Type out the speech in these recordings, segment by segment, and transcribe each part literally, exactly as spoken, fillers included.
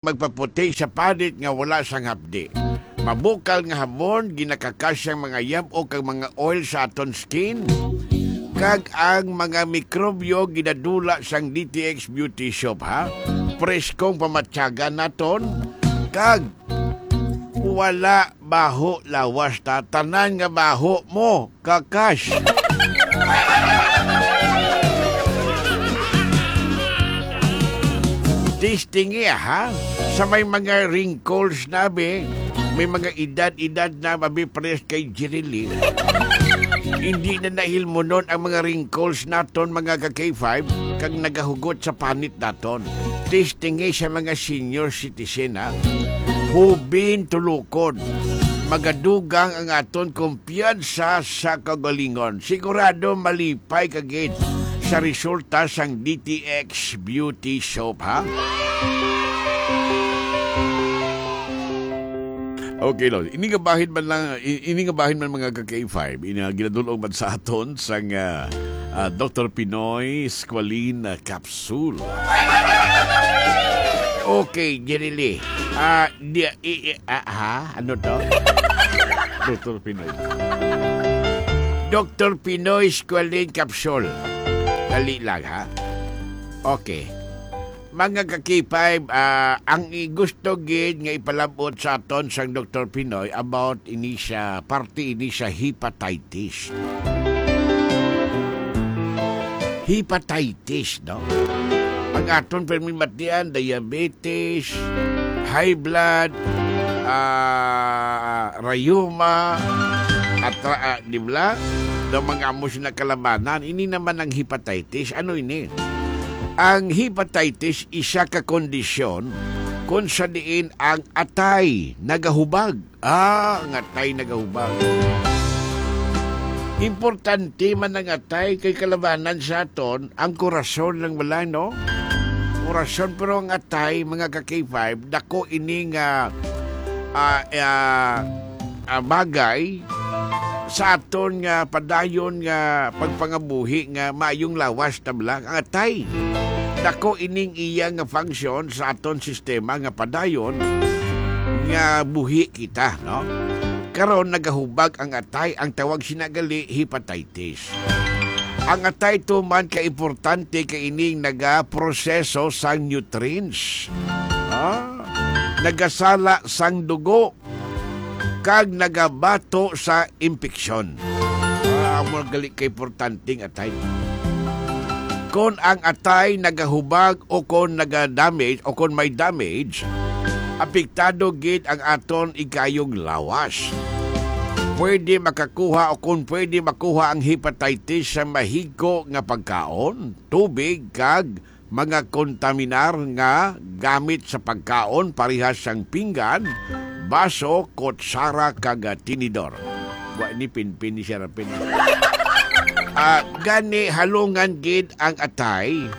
magpaputi sa panit nga wala sang hapdi. Mabukal nga hamon, ginakakasyang mga yab-ok kag mga oil sa aton skin, kag ang mga mikrobyo ginadula sang D T X Beauty Soap, ha? Preskong pamatyagan naton, kag wala baho lawas ta. Tanan nga baho mo, kakas. Testing iya, ha? Sa may mga wrinkles na, be, may mga edad-edad na, mabi, pares kay Jirili. Hindi na nahilmunon ang mga wrinkles naton, mga ka-K five, kag nagahugot sa panit naton. Testing iya sa mga senior citizen, ha? Hubin tulukon. Magadugang ang aton kumpiyansa sa kagalingon. Sigurado malipay ka gid sa resulta sang D T X Beauty Soap, ha? Okay, Lord. Ini nga bahin man lang, i-, ini nga bahin man, mga ka-K five, ini nga ginadul-ong man sa aton sang, ah, ah, Doktor Pinoy Squalene, ah, Capsule. Okay, Jirili. Ah, di, i, i, ah, ha? Ano to? Doktor Pinoy. Doktor Pinoy Squalene Capsule. Dali lang, ha? Okay. Mga ka-K five, ah, ang i-, gusto gid nga ipalabot sa aton sang Doktor Pinoy about ini sa parte ini sa hepatitis. Hepatitis, no? Ang aton permi matian, diabetes, high blood, ah, rayuma, at, ah, di ba? Daw mga amo sina kalabanan. Ini naman ang hepatitis. Ano ini? Ang hepatitis isa ka kondisyon kung sa diin ang atay nagahubag. Ah, ang atay nagahubag. Importante man ang atay kay kalabanan sa aton ang korason lang bala, no? Korason, pero ang atay, mga ka-K five, dako ini nga, ah, ah, ah, bagay sa aton nga padayon nga pagpangabuhi nga maayong lawas ta bala. Ang atay, dako ining iya nga function sa aton sistema nga padayon nga buhi kita, no? Karon nagahubag ang atay, ang tawag sina gali hepatitis. Ang atay tuman ka importante kay ining nagaproseso sang nutrients. Ah, nagasala sang dugo kag nagabato sa impeksyon. Ah, amo gali ka importante ang atay. Kon ang atay nagahubag o kon naga-damage o kon may damage, apektado gid ang aton ikayong lawas. Pwede makakuha o kon pwede makuha ang hepatitis sa mahigko nga pagkaon, tubig, kag mga kontaminar nga gamit sa pagkaon, parehas sang pinggan, baso, kutsara, kag, ah, tinidor. Wa ni pinpin ni Serapin. Ah, gani halungan gid ang atay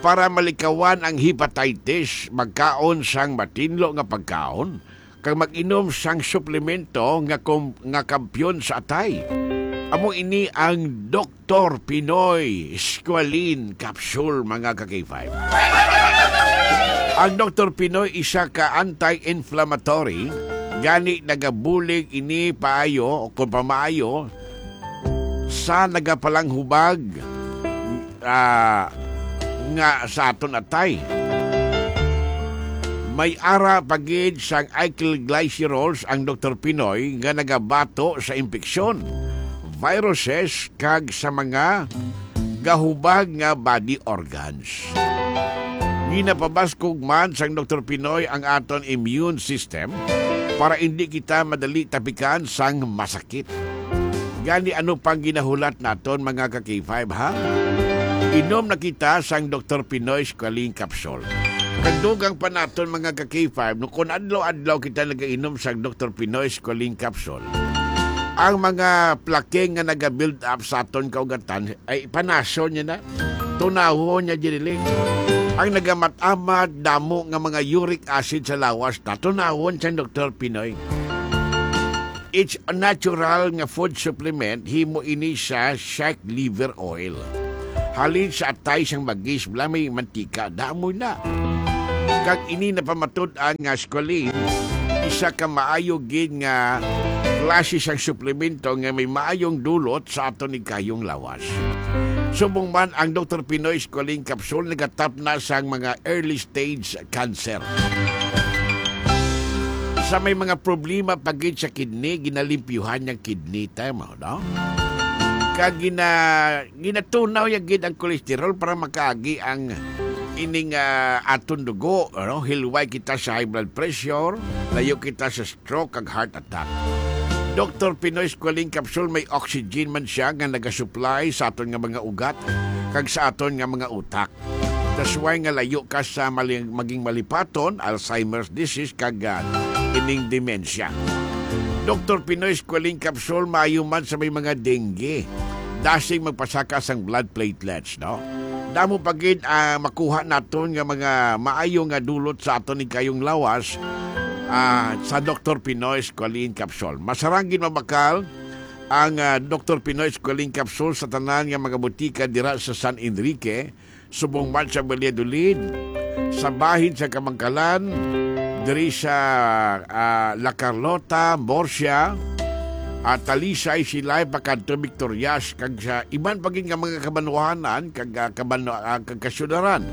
para malikawan ang hepatitis, magkaon sang matinlo nga pagkaon, kag mag-inom sang suplemento nga kom-, nga kampiyon sa atay. Amo ini ang Doktor Pinoy Squalene Capsule, mga ka-K five. Ang Doktor Pinoy isa ka anti-inflammatory, gani nagabulig ini paayo o kung pamaayo sa nagapalanghubag, ah, nga sa aton atay. May ara pa gid sang alkylglycerols ang Doktor Pinoy nga nagabato sa impeksyon, viruses, kag sa mga gahubag nga body organs. Ginapabaskog man sang Doktor Pinoy ang aton immune system para indi kita madali tapikan sang masakit. Gani, ano pang ginahulat naton, mga ka-K five, ha? Inom na kita sang Doktor Pinoy Squalene Capsule. Kag dugang pa naton, mga ka-K five, no, kung adlaw-adlaw kita nagainom sang Doktor Pinoy Squalene Capsule, ang mga plaque nga naga-build up sa aton kaugatan, ay, panason niya na. Tunawon niya, Jeriling. Ang nagamat-amat, damo nga mga uric acid sa lawas, tatunawon sa Doktor Pinoy. It's a natural nga food supplement, himo ini sa shake liver oil. Halin sa atay sang bagis, bala may mantika, damo na. Kag ini napamatud-an nga squalene, isa ka maayo gid nga klase sang suplemento nga may maayong dulot sa aton higayong lawas. Subong man, ang Doktor Pinoy Squalene Capsule nagatapna sang mga early stage cancer. Sa may mga problema pa gid sa kidney, ginalimpyuhan niyang kidney, tama, no? Kag gina-, ginatunaw niya gid ang cholesterol para makaagi ang ining, ah, aton dugo, ano? Hilway kita sa high blood pressure, layo kita sa stroke kag heart attack. Doktor Pinoy Squalene Capsule, may oxygen man siya nga nagasupply sa aton nga mga ugat kag sa aton nga mga utak. That's why nga layo ka sa mali-, maging malipaton, Alzheimer's disease, kag, ah, ining dementia. Doktor Pinoy Squalene Capsule, maayo man sa may mga dengue. Dasig magpasaka sang blood platelets, no? Damo pa gid, ah, makuha naton nga mga maayo nga dulot sa aton higayong lawas, ah, sa Doktor Pinoy Squalene Capsule. Masarang gid mabakal ang, ah, Doktor Pinoy Squalene Capsule sa tanan nga mga butika dira sa San Enrique, subong man sa Valladolid, sa bahin sa Kamangkalan, diri sa, ah, La Carlota, Murcia, at Talisay, Silay, pakadto Victorias, kag sa iban pa gid nga mga kabanwahanan, kag, ah, kabanwa-, ah, kag kasyudaran.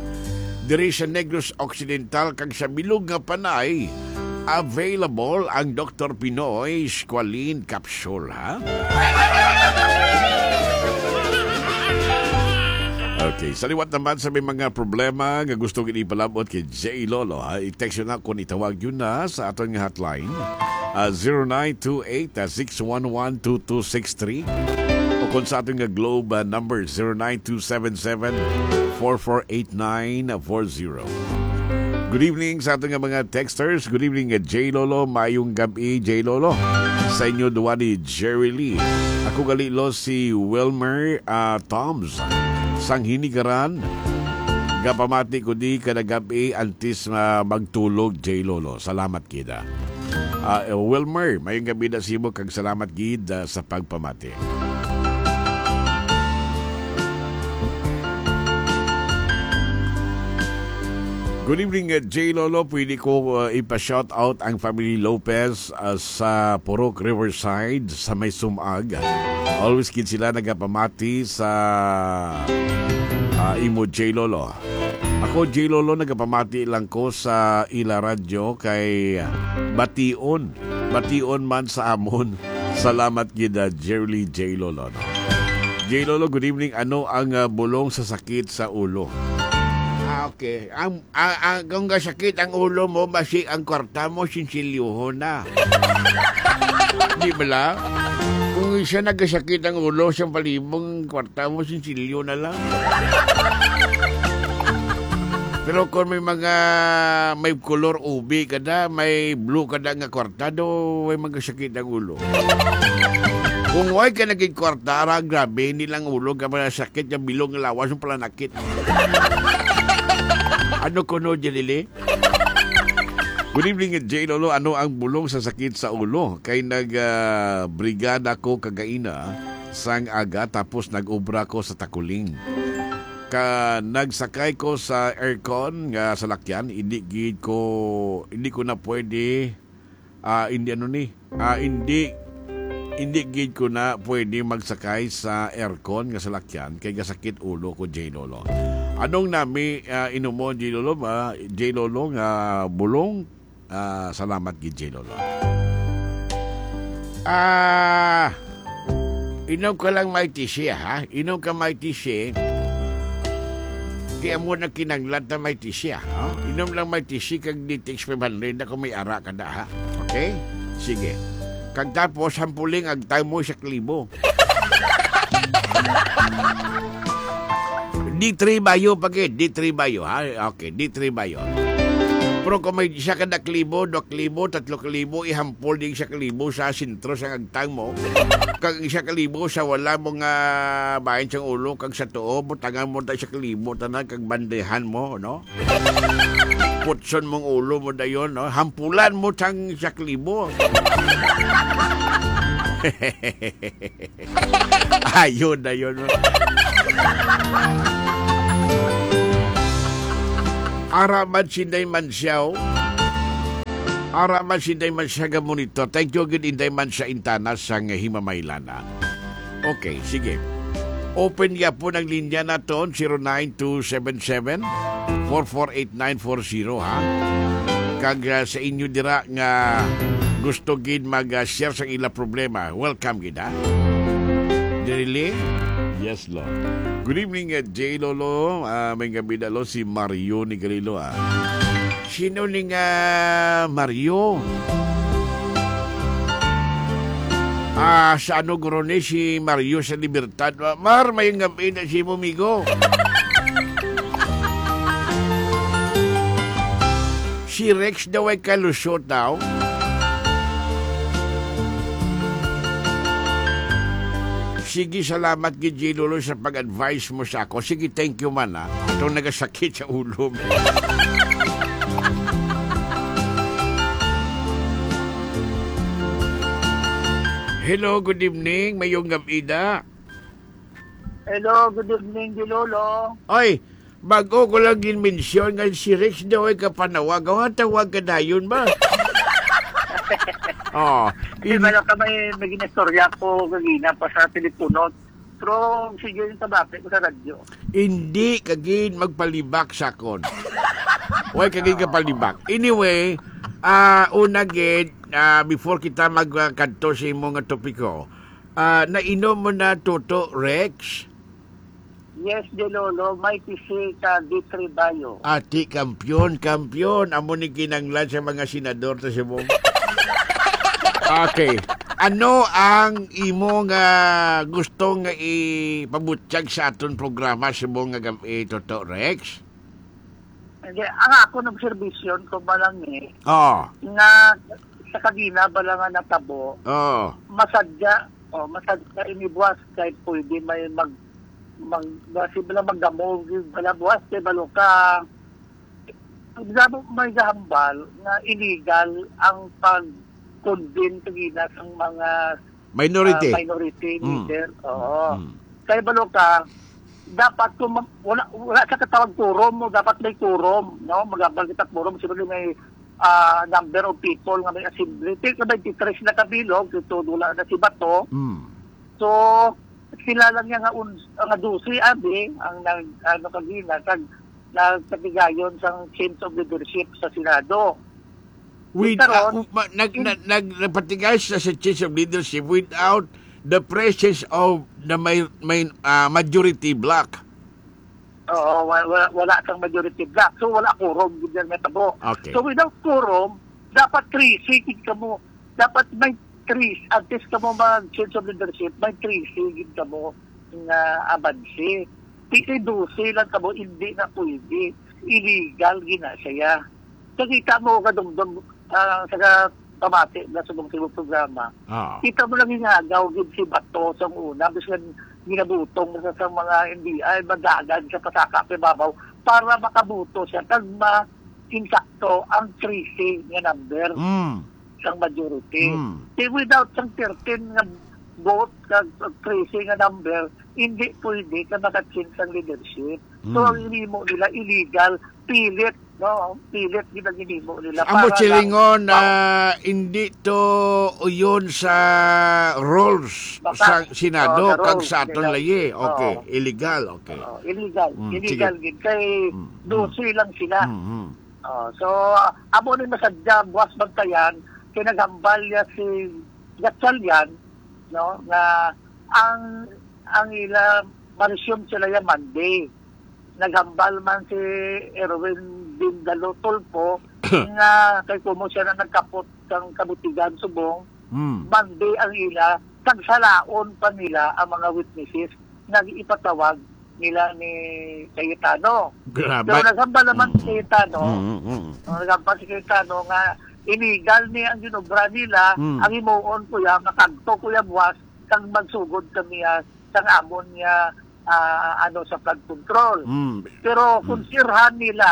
Diri sa Negros Occidental kag sa bilog nga Panay, available ang Doktor Pinoy Squalene Capsule, ha? Okay, sa liwat naman sa may mga problema nga gusto gid ipalabot kay J Lolo, ha? I-text yun na kung itawag yun na sa aton nga hotline, ah, zero nine two eight, ah, six one one, two two six three, o kung sa aton nga Globe, ah, number, zero nine two seven seven, four four eight nine four zero. Good evening sa aton nga mga texters. Good evening, uh, J Lolo. Mayong gabi, J Lolo. Sa inyo duwa ni Jerry Lee. Ako gali, lo, si Wilmer, uh, Toms. Sang Hinigaran. Gapamati ko di kada gabi antes, uh, magtulog, J Lolo. Salamat kita. Ah, eh, Wilmer, mayong gabi na sa imo kag salamat gid, ah, sa pagpamati. Good evening, uh, J Lolo. Pwede ko, uh, ipa-shout out ang family Lopez, uh, sa Purok Riverside, sa may Sumag. Always gid sila nagapamati sa, uh, imo, J Lolo. Ako, J Lolo, nagapamati lang ko sa ila radyo kay bation. Bation man sa amon. Salamat gid, uh, Jerly J Lolo, no? J Lolo, good evening. Ano ang, uh, bulong sa sakit sa ulo? Ah, okay. Ang Ah, ah, kung gasakit ang ulo mo, basi ang kwarta mo, sinsilyohon na. Di bala? Kung isa nagasakit ang ulo, sa palibong kwarta mo, sinsilyo na lang. Pero kung may mga, may color ubi ka na, may blue ka na nga kwarta, do, may magasakit ang ulo. Kung way ka naging kwarta, ara, grabe, hindi lang ulo ka, mga sakit, yung bilong lawas, yung palanakit. Ano kuno, Jelili? Good evening, J Lolo. Ano ang bulong sa sakit sa ulo? Kay nag, ah, brigada ko kagaina sang aga, tapos nag-obra ko sa Takuling. Ka, nagsakay ko sa aircon nga salakyan, hindi gid ko, hindi ko na pwede, ah, hindi ano ni, ah, hindi, hindi gid ko na pwede magsakay sa aircon nga salakyan kay gasakit ulo ko, J Lolo. Anong nami, ah, inumo, J Lolo ba? J Lolo nga bulong? Ah, salamat gid, J Lolo. Ah, inom ka lang may tisi, ha? Inom ka may tisi. Kaya mo na kinanglat na may tisi, ha? Inom lang may tisi kag D T X five hundred na kung may ara ka na, ha? Okay? Sige. Kag tapos, hampuling agtang mo sa klibo. D three bayo pa gid, D three bayo, ha? Okay, D three bayo. Pero kung may isa ka na klibo, dua klibo, tatlo klibo, ihampol di isa klibo sa sentro sa agtang mo. Kag isa klibo sa wala mo nga bahin sang ulo, kag sa tuo, butangan mo ta isa klibo, tanan, kag bandehan mo, no? Putson mong ulo mo dayon, no? Hampulan mo sang isa klibo. Ayun, ayun, no? Ara man si Inday Mansyaw. Ara man si Inday Mansyaw ga monitor. Thank you gid, Inday Mansyaw Intana sang Himamaylan, ah. Okay, sige. Open gyapon ang linya naton, zero nine two seven seven, four four eight nine four zero, ha? Kag, ah, sa inyo dira nga gusto gid mag, ah, share sa ila problema, welcome gid, ha? Dili? Yes, Lord. Good evening, uh, J Lolo. Ah, may gabi na, lo, si Mario ni Garilo, ah. Sino ni nga Mario? Ah, sa ano, guro ni si Mario sa Libertad? Mar, may gabi na si mo, migo. Si Rex daw ay kalusot daw. Sige, salamat gid, J Lolo, sa pag-advise mo sa ako. Sige, thank you man, ha. Itong nagasakit sa ulo. Hello, good evening. Mayong gabi da. Hello, good evening, J Lolo. Oy, bago ko lang ginmensyon nga si Rex daw ay kapanawag. Awa, tawag ka dayon ba? Oh, Kasi in- wala ka may, may ginistorya ko kagina pa sa telepono. Pero sige yung tabati ko sa radyo. Hindi ka gid magpalibak sa akon. Way ka gid kapalibak. Anyway, ah, una gid, ah, before kita magkadto sa imo nga topiko, ah, nainom mo na, Toto Rex? Yes, J Lolo, may P C ka Vitri Bayo. Ati, kampiyon, kampiyon. Amo ni kinanglan sa mga senador to sa mong. Okay. Ano ang imo nga gusto nga ipabutyag sa aton programa sa mong nga gab-, eh, Toto Rex? Hindi, ang akon observation ko ba lang eh, Oo. nga sa kagina ba lang nga natabo, Oo. masadya, oh, masadya inibuwas kay pwede may mag-, mag-, basi ba lang magdamo, bala buwas kay balo ka, ang damo may gahambal nga illegal ang pag-convene kagina sang mga Minority. ah, minority Mm. leader. Oo. Mm. Kay balo ka, dapat kung ma-, wala, wala sa katawag quorum mo, dapat may quorum, no? Magabal kita quorum, siyempre may, ah, number of people nga may assembly. Take na twenty-three sila kabilog, ito wala na si Bato. Mm. So, sila lang niya nga un-, nga dose, abi, ang nag-, ano, kagina, kag nagpatigayon sang change of leadership sa Senado. With, Karon, ah, um, ma-, nag-, in- nag-, nag-, nagpatigay siya sa change of leadership without the presence of the may, may, ah, majority bloc. Oo, wa-, wa-, wala sang majority bloc. So, wala quorum, gid ang natabo. Okay. So, without quorum, dapat thirteen gid kamo. Dapat may thirteen, at least kamo mag-change of leadership, may thirteen gid kamo nga abanse. Di kay dose lang kamo, hindi na pwede. Illegal gina siya. Nakita mo, kadungdong, ah, sa ka-, pamati na sa mong sibong programa. Ah. Kita mo lang, ginagaw gid si Bato sa una, bisan ginabutong sa, sa mga N B I, madagan sa pasaka pa babaw para makabuto siya, kag ma-, insakto ang thirteen nga number Mm. sang majority. Mm. Kay without sang thirteen nga vote, kag thirteen nga number, hindi pwede ka maka-change ang leadership. So, Mm. ang hinimo nila, illegal, pilit, no? Pilit gid ang hinimo nila. Amo para silingon lang na pa- hindi to uyon sa rules Baka, sa Senado, oh, sa kag rules sa aton nila. Layi. Okay, Oo. Illegal, okay. Oo, illegal. Mm, Illegal sige. Gid. Kay Mm, mm. dose lang sila. Mm, mm. Oh, so, amo ni masadya, buwas bantayan, kay naghambal niya si Gatchalian, no, nga ang, ang ila, ma-resume sila ya Monday. Naghambal man si Erwin Bindalo Tulfo nga kay kumo siya na nagkapot sang kabutigan subong, Hmm. Monday ang ila, kag salaon pa nila ang mga witnesses nga ipatawag nila ni Cayetano. Grabe. Pero naghambal naman Mm. si Cayetano, Mm, mm, mm. oh, naghambal si Cayetano nga illegal ni ang ginobra nila, Mm. ang himuon ko ya, makagto ko ya buwas, kag magsugod kami, ah, sang amon nga, ah, ano, sa flood control. Mm. Pero kung Mm. sirhan nila,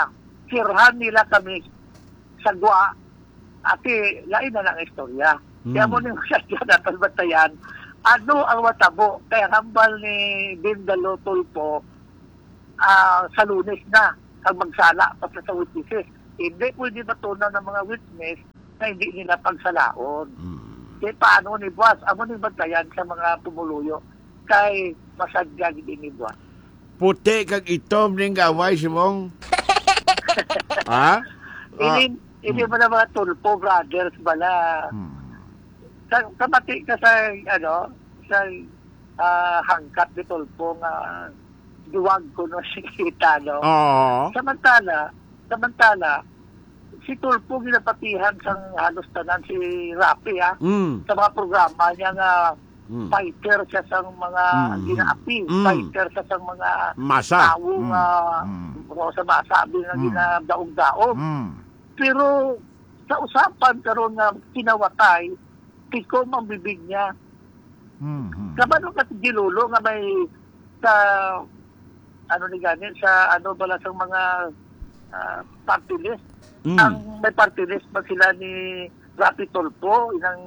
sirhan nila kami sa gwa, ati, lain na lang istorya. Kaya Mm. mo ning siya dapat bantayan, ano ang matabo? Kaya hambal ni Bindalo Tulfo, ah, sa Lunes na. kag magsala pa sa, sa witnesses. Hindi pwede matunaw ng mga witness na hindi nila pagsalaon. Mm. Kaya paano ni buwas? Amo ni bantayan sa mga pumuluyo kay masadya gid ini buwas. Puti kag itom ning gaway, Simong. Ha? Ah, Ini, ini mm. Ba na mga Tulfo brothers bala? Hmm. Sa, kamati ka sa, ano, sa, ah, hangkat ni Tulfo nga duwag ko no si kita, no? Oo. Samantala, samantala, si Tulfo ginapatihan sang halos tanan si Rafi, ah. Mm. Sa mga programa niya nga Mm. fighter siya sang mga Mm. ginaapi, Mm. fighter siya sang mga Masa. Tawo Mm. nga Mm. o sa masa abi nga Mm. ginadaog-daog. Mm. Pero sa usapan karon nga kinawatay, tikom ang bibig niya. Mm. Kabalo ka si Gilulo nga may sa, ano ni gani, sa ano bala sang mga, ah, party list. Mm. Ang may party list ba sila ni Rafi Tulfo, inang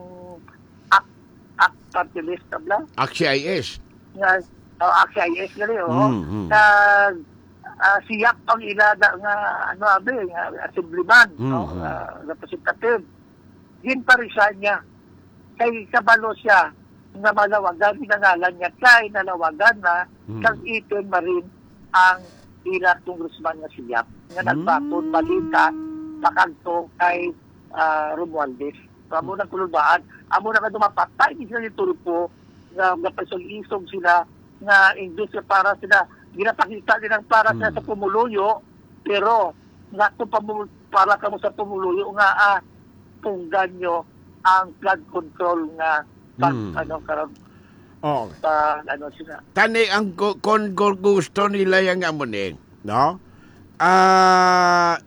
ak-, ak-, party list na bala? Aksi I S. Nga, oh, Aksi I S gali, oh. Mm, mm. Kag, ah, si Yap ang ila da nga, ano, abi, nga assemblyman, Mm, no? Mm. Ah, representative. Ginparisan niya. Kay kabalo siya nga malawagan, ginangalan niya kay nalawagan na Mm. kag iton marin ang ila congressman nga si Yap, nga Mm. nagbaton balita pakadto kay, ah, Romualdez. So, amo nang kulubaan, amo na kadto mapatay ni sila ni Tulfo nga napasog-isog sila nga imbis nga para sila, ginapakita nilang para sila Mm. sa pumuluyo, pero nga kung pamu-, para kamo sa pumuluyo nga, ah, tunggan nyo ang flood control nga pag, Mm. ano, karon, Oh. pag, ano, sila. Kani ang gu-, kon gu-, gusto nila yang amo ni, no? Ah,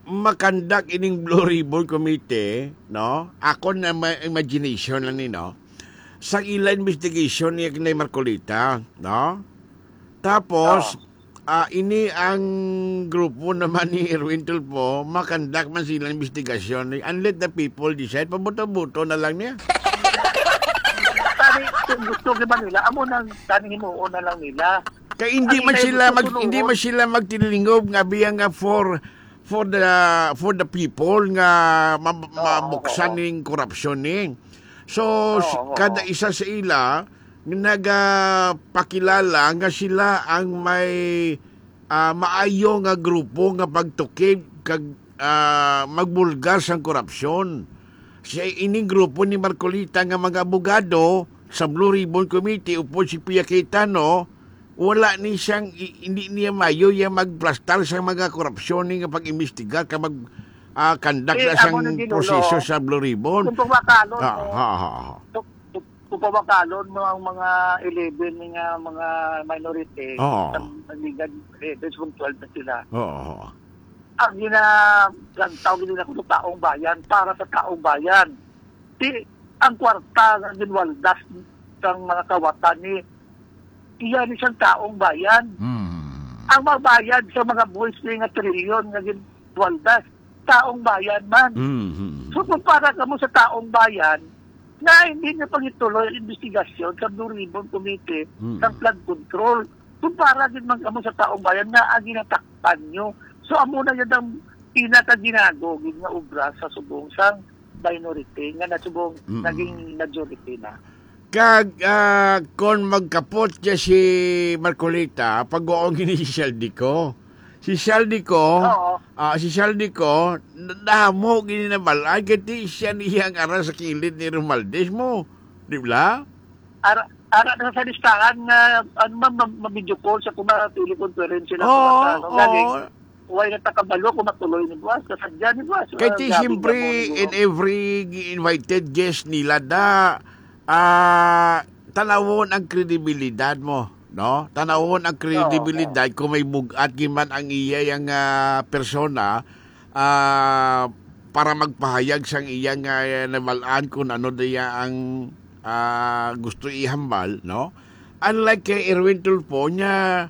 makandak ining Blue Ribbon Committee, no? Ako na ma-, imagination lang ni, no? Sa ila investigation ni, ni Marcoleta, no? Tapos, Oo. ah, ini ang grupo naman ni Erwin Tulfo, makandak man sila investigasyon and let the people decide. Pabuto-buto na lang niya. Tani, kung gusto gyud ba nila, amo nang tani himuon na lang nila. Kay hindi Ang man ila sila mag-, gusto hindi tulungon. Man sila magtilingog nga biya nga for, for the, for the people nga ma-, Oo, mabuksan oo. Ning korupsyon ni. So, Oo, si-, oo. Kada isa sa ila nagapakilala nga sila ang may, ah, maayo nga grupo nga pagtukib kag, ah, magbulgar sang korupsyon. Sa ining grupo ni Marcoleta nga mga abogado sa Blue Ribbon Committee, upod si Pia Cayetano, wala ni siyang i-, hindi niya mayo iya magplastar sa mga korupsyon ni nga pag-imbestigar ka mag, ah, conduct Eh, na amo siyang na, Ginoo. Proseso sa Blue Ribbon. Kung pamakalon Ah, mo, ha, ha, ha. kung, kung, kung pamakalon mo ang mga eleven nga mga minority, Oo. sa, sa Liga eleven, kung twelve na sila. Oo. Ang gina-, ang tawag nila kung taong bayan, para sa taong bayan. Di, ang kwarta nga ginwaldas sang mga kawatan ni, iya ni sang taong bayan. Mm. Ang magbayad sa mga buhis ni nga trilyon nga ginwaldas, taong bayan man. Mm. So, kung para kamo sa taong bayan, na hindi na pagituloy ang investigasyon sa Blue Ribbon Committee Mm. sa flood control, kung para gid man kamo sa taong bayan na ang ginatakpan nyo. So, amo na yun ang pinakaginago gid nga obra sa subong sang minority nga nasubong Mm. naging majority na. Kag, ah, kon magkapot siya si Marcoleta, pag-uong ini si Shaldico. Si Shaldico, Oo. ah, si Shaldico, na-, damo gini na balay, kay ti siya niya ang ara sa kilid ni Romualdez mo. Di ba? Ara, ara na sa listahan nga, ano, ma-, ma-, ma-video call sa kuma teleconference sila Oo, sa, ano, oo. Galing. Way na takabalo kung matuloy ni buwas, kasadya ni buwas. Kay Ah, ti grabe siyempre, nga mo, in no? Every gi-invited guest nila da, ah, tanawon ang kredibilidad mo, no? Tanawon ang Oo, kredibilidad oo. Kung may bug-at gid man ang iya yang, ah, persona, ah, para magpahayag sang iya nga, ah, nabal-an kung ano diya ang, ah, gusto ihambal, no? Unlike kay Erwin Tulfo, niya,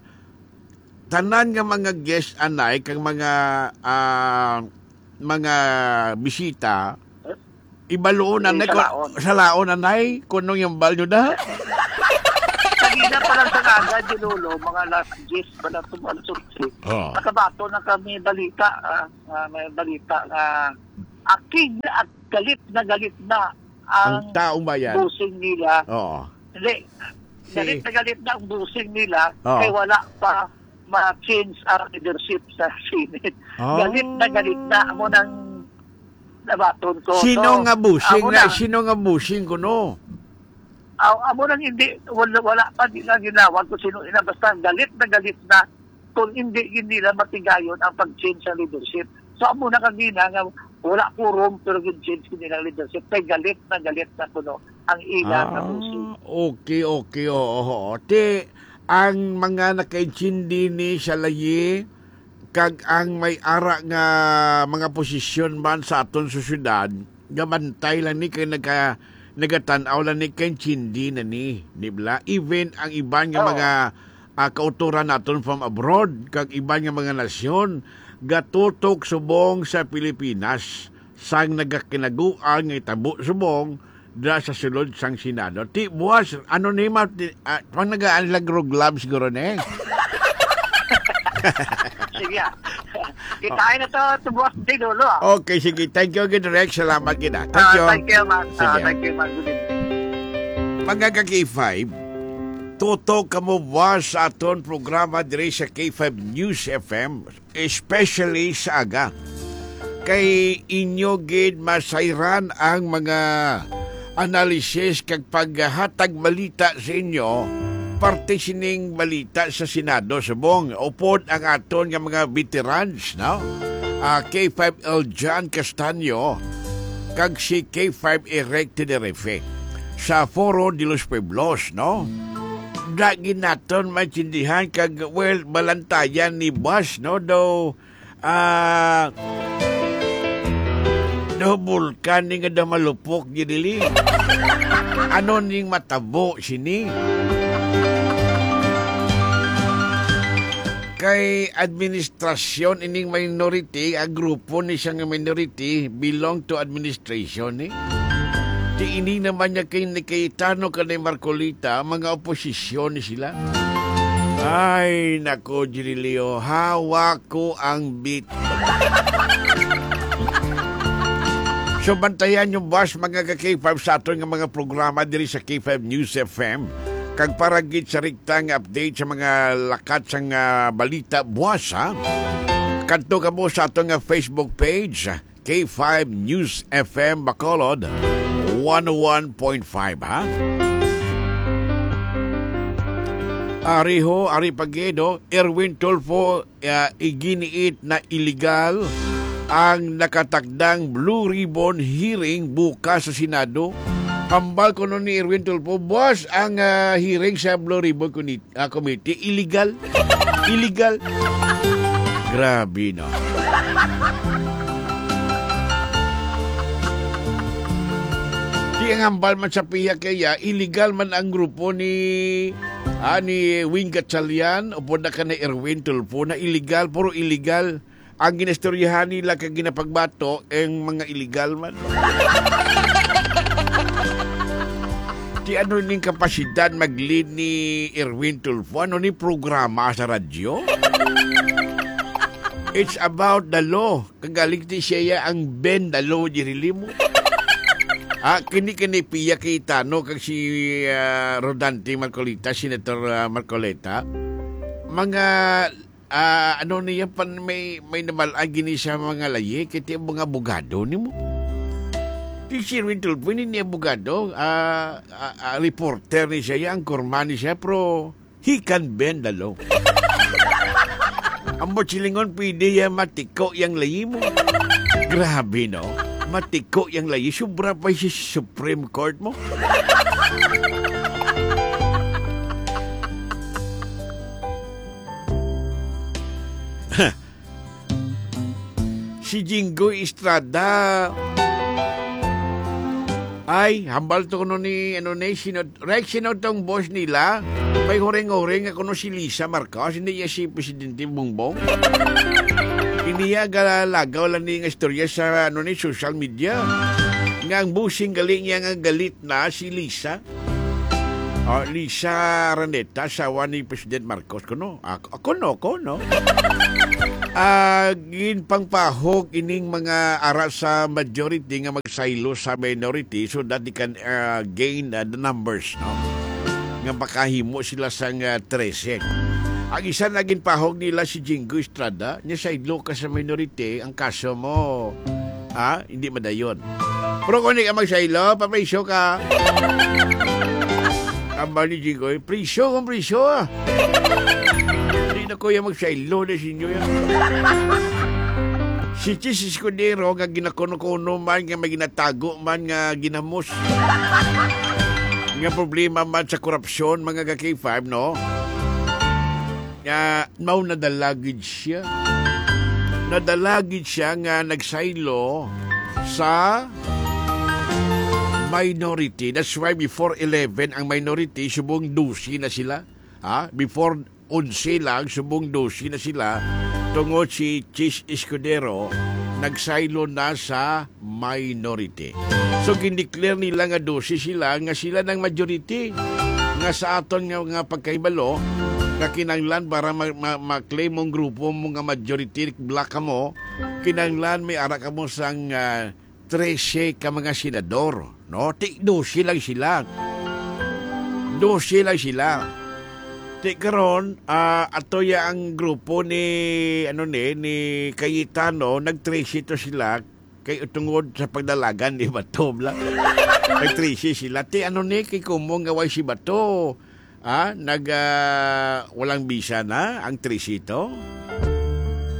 tanan nga mga guest anay kag mga, ah, mga bisita, ibaluon Di anay, salaon. Salaon anay, kung anong yung value na. Sa gid, Kaya pala sa aga, Dilolo, mga alas diyes pala, tum-, alas onse. Oh. Nakabato na kami balita, ah, ah, may balita nga aking at galit na galit na ang Ang taong bayan. Busing nila. Oo. Hindi. Si Galit na galit na ang busing nila Oh. kay wala pa ma-change ang leadership sa Senate. Oh. Galit na galit na. Amo nang nabaton ko. Sino So, nga busing amo na, na. Sino nga busing kuno? Aw, amo nang hindi, wala, wala pa, di na ginawag kung sino ina. Basta galit na galit na kung hindi, hindi nila matigayon ang pag-change sa leadership. So, amo na kagina nga wala quorum, pero gin-change ko nilang leadership. Kay galit na galit na kuno ang ila nga Ah, busing. Okay, okay, oo, oo. Ti, ang mga nakaintindi ni sa layi, kag ang may ara nga mga posisyon man sa aton sosyedad, gabantay lang ni kay nagka-, nagatan-aw lang ni kay intindi na ni, di bala? Even ang iban nga Oo. mga, ah, kautoran naton from abroad, kag iban nga mga nasyon, gatutok subong sa Pilipinas, sang nagakinaguan nga itabo subong, dira sa sulod sang Senado. Ti, buwas, ano ni ma-, ti, ah, pang nagaan lang rog lab siguro ni. Sige, ah. Kitain na to, to buwas, di dulo, ah. Okay, sige. Thank you, gid, Rex. Salamat, gid, ah. Thank Ah, you. Thank you, man. Ah, Sige. Thank you, man. Good evening. Mga ka-K five, tutok kamo buwas sa aton programa diri sa K five News F M. Especially sa aga. Kay inyo gid masayran ang mga analysis kag paghatag balita sa inyo, parte sining balita sa Senado subong. Upod ang aton nga mga veterans, no? Ah, K five L John Castaño kag si K five Eric Tenerife sa Foro de los Pueblos, no? Dagi naton maintindihan kag, well, balantayan ni Bas, no? Daw, ah, daw bulkan ni nga daw malupok, gidili. Ano ning matabo sini? Kay administrasyon ining minority, ang grupo ni siya nga minority, belong to administration, eh. Di ini naman niya kay ni Cayetano kag ni Marcoleta, mga oposisyon ni sila. Ay, nako, Jirilio, hawak ko ang bit. So, bantayan yung bus, mga ka-K five, sa aton nga mga programa diri sa K five News F M. Kag para gid sa rikta nga update sa mga lakat sang, ah, balita buwas, ha? Kadto kamo sa aton nga Facebook page, K five News F M Bacolod, one oh one point five, ha? Ari ho, ari pa gid, oh, Erwin Tulfo, ah, iginiit na illegal ang nakatakdang Blue Ribbon hearing bukas sa Senado. Hambal kuno ni Erwin Tulfo, buwas ang, ah, hearing sa Blue Ribbon Committee. Ah, committee. Illegal. Illegal. Grabe, no? Di ang hambal man sa piya kaya, illegal man ang grupo ni, ah, ni Wing Gatchalian, upod na ka ni Erwin Tulfo, na illegal, puro illegal. Ang ginastoryahan nila kag ginapagbato, ang mga illegal man. Di ano ning kapasidad mag-lead ni Erwin Tulfo? Ano ni programa sa radyo? It's about the law. Kagaling ti siya ang bend the law, Jirilimo. Ah, kini, kini Pia Cayetano kag si, ah, Rodante Marcoleta, Senator, ah, Marcoleta. Mga Ah, ano niya pan may, may namal-agi ni sa mga layi, kay ti mga abogado nimo. Ti si Erwin Tulfo, ni, ni abogado, ah, ah, ah, reporter ni siya, ang kurma ni siya, pero he can bend the law. Ang silingon, pwede yan matiko yang layi mo. Grabe, no? Matiko yang layi. Sobra pa si Supreme Court mo. Si Jinggoy Estrada. Ay, hambal to kuno ni, ano ni, sino, Rex, sino tong boss nila? May huring-huring nga kuno si Lisa Marcos, hindi niya si Presidente Bongbong. Hindi niya galagaw lang ni nga istorya sa, ano ni, social media. Nga ang busing galing niya nga galit na si Lisa. Ah, Lisa Araneta, asawa ni President Marcos, kuno. Ah, kuno, kuno. Ah, ginpangpahog ining mga ara sa majority nga magsaylo sa minority so that they can, ah, gain, ah, the numbers, no? Nga makahimo sila sang, ah, trese. Ang isa na ginpahog nila si Jingo Estrada, niya saylo ka sa minority, ang kaso mo, ha? Hindi madayon. Pero kung di ka magsaylo, papriso ka. Aba ni Jingo, eh, priso kung priso, ah. Hindi na ko yung magsaylo na sinyo yan. Si Chiz Escudero nga ginakuno-kuno man, nga may ginatago man, nga ginamos. Nga problema man sa korupsyon, mga ka-K five, no? Nga, mao nadala gid siya. Nadala gid siya nga nagsaylo sa minority. That's why before eleven ang minority, subong dose na sila. Ha? Before onse lang, subong dose na sila. Tungod si Chiz Escudero, nagsaylo na sa minority. So, gindeclare nila nga dose sila, nga sila nang majority. Nga sa aton nga, nga pagkahibalo, nga kinahanglan para ma-, ma-, ma-claim mong grupo mo nga majority black kamo, kinahanglan may ara kamo sang, ah, trese ka mga senador, no? Ti dose lang sila. Dose lang sila. Ti karon, ah, ato ya ang grupo ni, ano ni, ni Cayetano, nag-trese to sila, kay tungod sa pagdalagan ni Bato, bla. Nag-trese sila. Ti ano ni, kay kumong nga way si Bato, ah, nag, ah, walang bisa na ang tresito?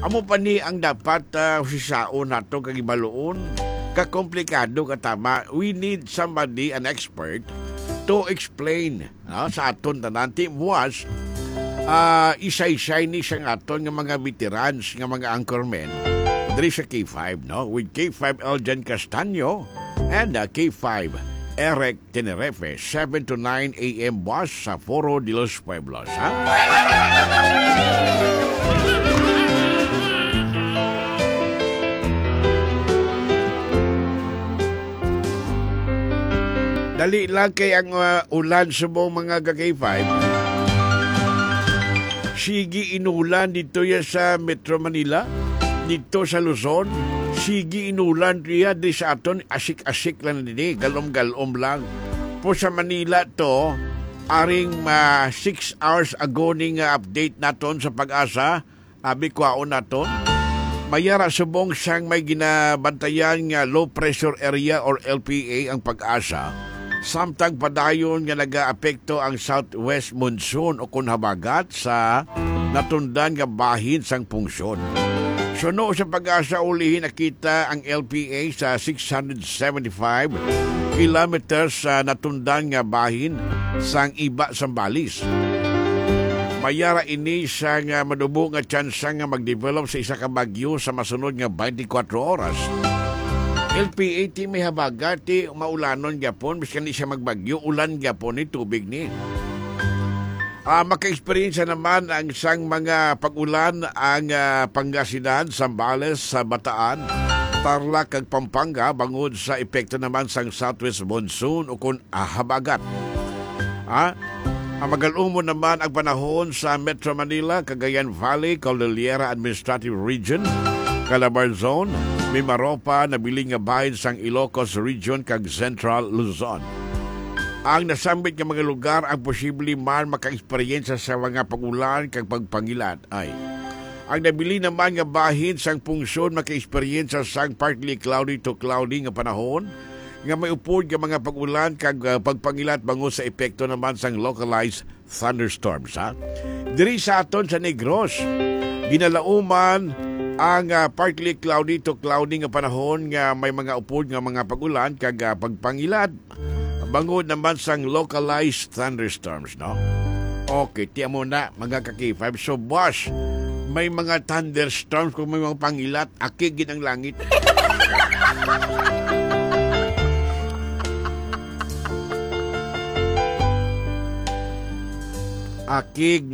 Amo pa ni ang dapat, ah, husisaon nato kag hibaluon. Kakomplikado ka tama. We need somebody, an expert, to explain, no, sa aton tanan. Ti buas, ah, isaysay ni sang aton nga mga veterans, nga mga anchormen diri sa K five, no? With K five Eljan Castaño and, ah, K five Eric Tenerife, seven to nine a m buas sa Foro de los Pueblos, ha? Dali lang kay ang, uh, ulan subong mga ka-K five. Sige inulan dito ya sa Metro Manila, dito sa Luzon. Sige inulan riya di sa aton, asik-asik lang didi, galom-galom lang. Po sa Manila to, aring, ah, six hours ago ni nga update naton sa PAGASA, abi kwaon naton. Mayara subong sang may ginabantayan nga low pressure area or L P A ang PAGASA. Samtang padayon nga nagaapekto ang southwest monsoon o kon habagat sa natundan nga bahin sang pungsod. Suno sa PAGASA, ulihi nakita ang L P A sa six hundred seventy-five kilometers sa natundan nga bahin sang Iba, Zambales. Mayara ini sa nga madubo nga tsansa nga mag-develop sa isa ka bagyo sa masunod nga twenty-four oras. L P A ti may habagat, ti maulanon gyapon, bisan di siya magbagyo, ulan gyapon ni tubig ni. Ah, maka-eksperyensya naman ang sang mga pag-ulan ang, ah, Pangasinan, Zambales, sa Bataan, Tarlac, kag Pampanga bangod sa epekto naman sang southwest monsoon o kon, ah, habagat. Ah, ang magalumon naman ang panahon sa Metro Manila, Cagayan Valley, Cordillera Administrative Region, Calabarzon, Mimaropa, nabilin nga bahin sang Ilocos Region, kag Central Luzon. Ang nasambit nga mga lugar ang posible man makaeksperyensya sa mga pag-ulan kag pagpangilat ay ang nabilin naman nga bahin sang pungsod makaeksperyensya sang partly cloudy to cloudy nga panahon nga may upod nga mga pag-ulan kag, ah, pagpangilat bangod sa epekto naman sang localized thunderstorms, ha? Diri sa aton sa Negros, ginalauman ang, ah, partly cloudy to cloudy nga panahon nga may mga upod nga mga pag-ulan kag, ah, pagpangilat bangod naman sang localized thunderstorms, no? Okay, tiyan mo na, mga ka-K five. So, boss, may mga thunderstorms kung may mga pangilat, akig gid ang langit. Akig